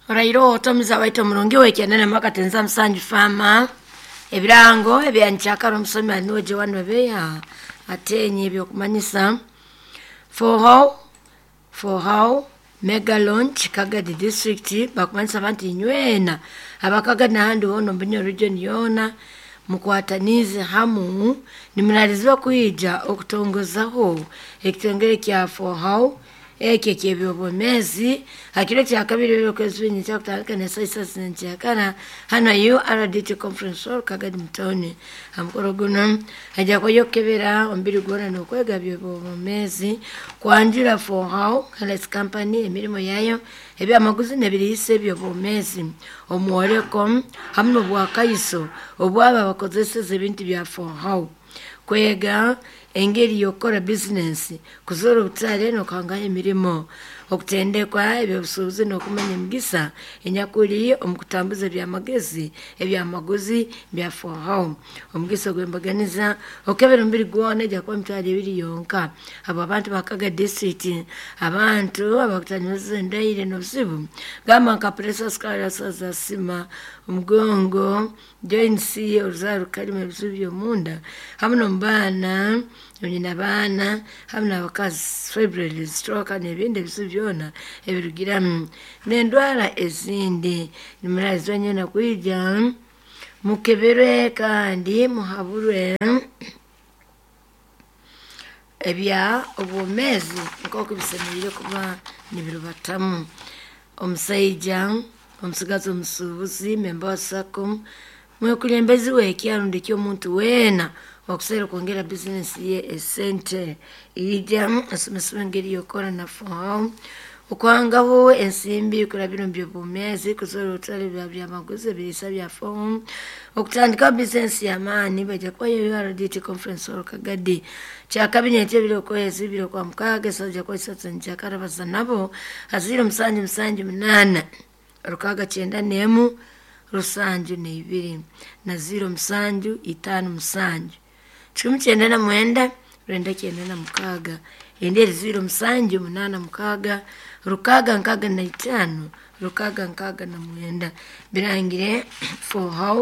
Orairo otomiza waita omurungi wekyenda mwakatenza musanju fama ebirango ebyankyakara omusomi aniwe Joan Webeya atenye ebyokumanyisa for how for how mega launch Kagadi district bakumanyisa abantu inywena abakagadi nahandi hoona omu region yoona mukwatanize hamu nimuralizibwa kwija okutongozaho ekitongere kya for how ekyo eky'ebyobwomeezi hakiro kyakabiri ebyokwezi binyi kyakutandika nesaisa zinkyakara hano URDT conference hall Kagadi mutoni hamukoro guno hajja kwayo okukebera omubiri gwona n'okwega byobwomeezi kwanjura for how health company emirimu yayo ebyamaguzi n'ebiriisa ebyobwomeezi omworeko hamu n'obwakaiso obwabo abakozeseza ebintu bya for how kwega engeri y'okukora bizinensi kuzoora obutare n'okuhangaho emirimo okutendekwa ebyobusuubuzi n'okumanya emigisa enyakuri omu kutambuza ebyamagezi ebyamaguzi bya for how omugisa ogw'embaganiza okukebera omubiri gwona ejja kuba emitwaro ebiri yonka abo abantu bakaga district abantu abakutanyuza endaire n'obuzibu gamba nka pressure sukari za sima omugongo joints oruzaaro rukarimu ebizibu by'omunda hamu n'omubaana nyina baana hamu n'abakazi fibroids stroke n'ebindi ebizibu byona ebirugiramu n'endwara ezindi nimuraalizibwa nyena kwija mukeberwe kandi muhaburwe ebya obwomeezi nk'oku bisemeriire kuba nibirubatamu omusaija omusigazi omusuubuzi memba wa sacco mwekulembezi w'ekyaro rundi ky'omuntu weena okuseera okwongera bizinesi ye esente ija asomesebwa engeri y'okukora na for how okwangaho ensimbi kurabira omu byobwomeezi kuzoora obutare bya byamaguzi ebiriisa bya for okutandikaho bizinesi y'amaani bajja kubayo URDT conference hall Kagadi kyakabiri ekyo ebiri okwezi bibiri okwa mukaaga esaaha kuba isatu nkyakara baza nabo haziire musanju musanju munaana rukaaga kyenda n'emu rusanju n'ibiri na ziro musanju itaano musanju kikumi kyenda na mwenda rwenda kyenda na mukaaga endi eri ziro musanju munaana mukaaga rukaaga nkaaga na itaano rukaaga nkaaga na mwenda birangire for how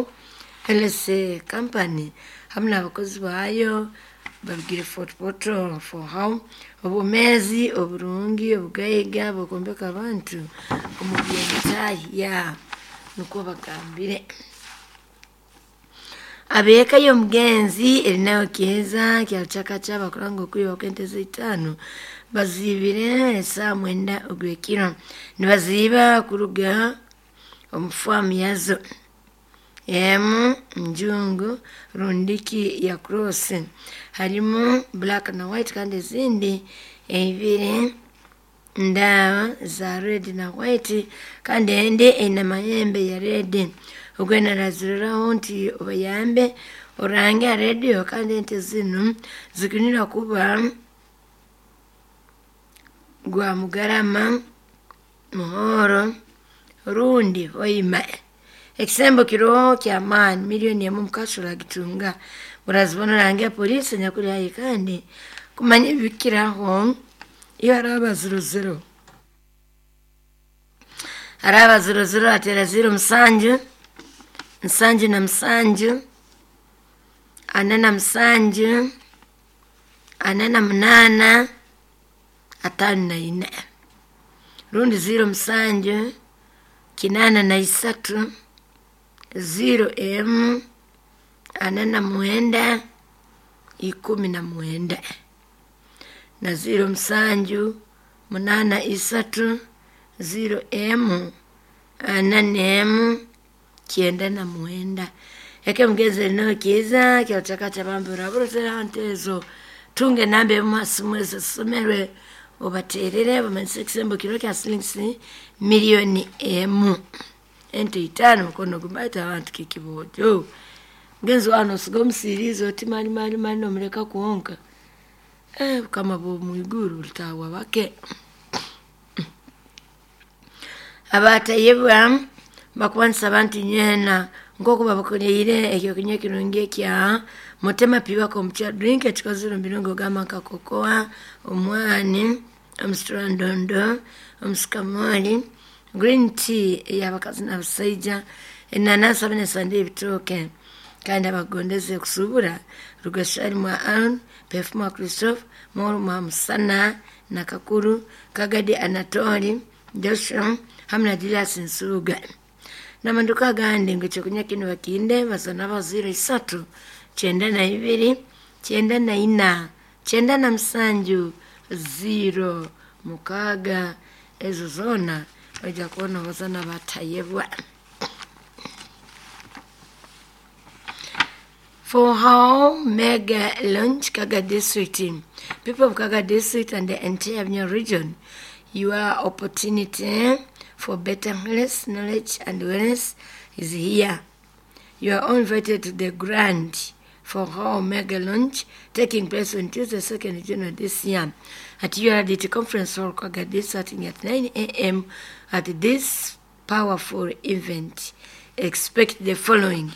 LSA company hamu n'abakozi baayo babigire Fort Portal for how obwomeezi oburungi obugaiga bw'okwombeka abantu omu by'entahya nukwo bagambire abeeka y'omugenzi erinayo kyeza kyarukyakakya bakuranga okwiba kw'ente z'eitaano baziibire esaaha mwenda ogw'ekiro nibaziiba kuruga omu faamu yazo emu njungu rundiki ya cross harimu black na white kandi ezindi ebiri ndaaba za red na white kandi endi eine amayembe ya red ogwena araziriraho nti obayambe orange ha rediyo kandi ente zinu zikunira kuba gwa mugarama muhoro rundi hoima ekisembo kiroho kyamaani miliyoni emu mukasura agitunga murazibona orange polisi enyakuri haihi kandi kumanya ebikiraho iyo araba ziro ziro araba ziro ziro atera ziro musanju nsanju na musanju ana na musanju ana na munaana ataano na ina rundi ziro musanju kinaana na isatu ziro emu ana na mwenda ikumi na mwenda na ziro musanju munaana isatu ziro emu ana n'emu kyenda na mwenda eke mugenzi erinaho kiiza kyarukyakakya bambi oraburotera nteezo tunga enamba emu ha simu ezo zisomerwe obateerere bamanyise ekisembo kiro kya silingisi miliyoni emu ente itaano mukono gumu abantu kikiboojo mugenzi wano osiga omusiriizi oti mali mali mali nomureka kwonka bukama bw'omwiguru bulitahwa bake abatayebwa bakubanisa abantu nywena nk'oku babakoreire ekyokunywa ekirungi ekya mutema piba komukya drink ekikozere omu birungo ogamba nka kokoa omwani. Omusitrandondo, omusikamoli, green tea ey'abakazi n'abasaija, enanasi hamwe n'esande y'ebitooke. Kandi abagondeze kusuubura Rugashari mwa Aaron, Pefu mwa Christophe, Moro mwa Musana na Kakuru, Kagadi Anatoli, Joshua hamwe na Julius Nsubuga. N'amaduka agandi ngu ekyokunywa kinu bakinde bazana aba 03 92 94 97 0 6 ezo zoona ojja kubona abazana batayebwa. For how mega launch Kaga District, people of Kaga District and the entire Bunyoro region, your opportunity for better health, knowledge and wellness is here. You are all invited to the grand for how mega launch taking place on Tuesday, 2nd June this year at URDT Conference Hall, Kaga District, starting at 9 a.m. At this powerful event, expect the following: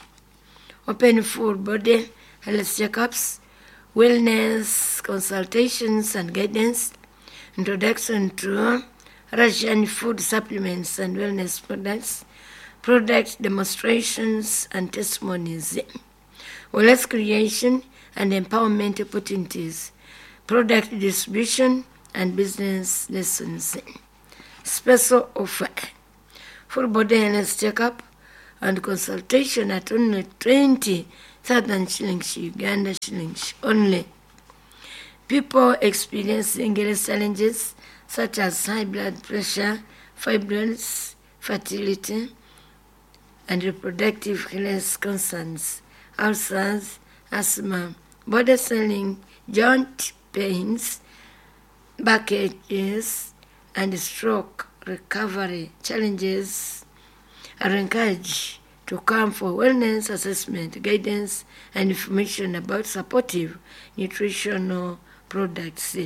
open full body health checkups, wellness consultations and guidance, introduction to Russian food supplements and wellness products, product demonstrations and testimonies, wealth creation and empowerment opportunities, product distribution and business lessons. Special offer: full body health checkup and consultation at only 20,000 shillings, Uganda shillings only. People experiencing health challenges such as high blood pressure, fibroids, fertility, and reproductive health concerns, ulcers, asthma, body swelling, joint pains, backaches, and stroke recovery challenges are encouraged to come for wellness assessment, guidance, and information about supportive nutritional products.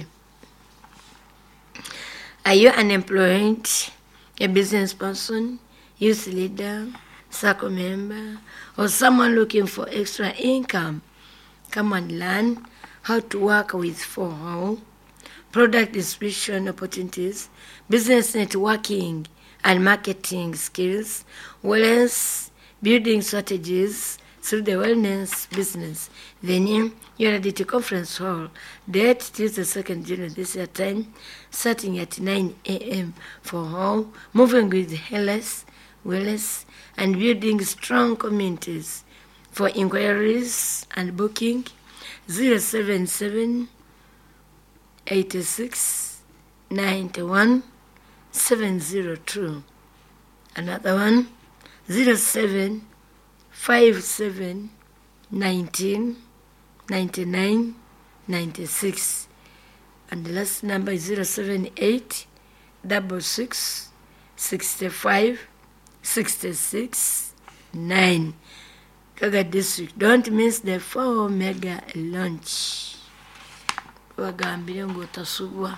Are you unemployed, a business person, youth leader, circle member, or someone looking for extra income? Come and learn how to work with 4How, product distribution opportunities, business networking and marketing skills, wellness building strategies through the wellness business. Venue, URDT Conference Hall. Date, Tuesday, 2nd June this year, time, starting at 9 a.m. for all, moving with health, wellness, and building strong communities. For inquiries and booking, 077 86 91 702. Another one, 07 57 19 99 96. And the last number is 078 66 65 66 9. Kaga District. Don't miss the 4 mega launch. Wagambire ng'otasubwa.